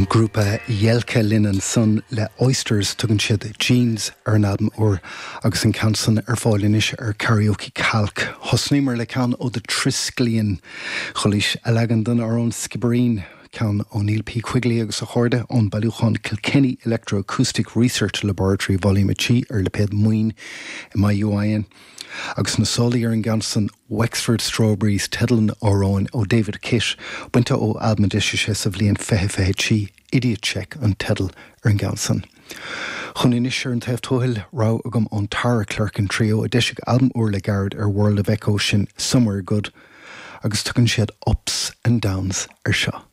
Ón ngrúpa Jelka linn ansan le Oysters, tugann siad Jeans ar an albam úr agus an ceann san ar fáil anois ar Karaoke Calc. Thosnaíomar le ceann ó The Triskellian, Chualaís a leagan den amhrán Skibbereen, ceann ó Neil P Quigley agus a chairde ón bailiúchán Kilkenny Electroacoustic Research Laboratory Volume 3 ar lipéad Maoin, MAUIN. Agus na sólaí ar an gceann san, Wexford Strawberries teideal an amhráin ó David Kitt, bainte ó albam a d'eisigh sé sa bhliain 2023, Idiot Check an teideal ar an gceann san. Chugainn anois ar an taobh tuathail, rogha agam ón Tara Clerkin Trio a d'eisigh albam úr le gairid ar World of Echo, sin Somewhere Good, agus tugann siad Ups and Downs air seo.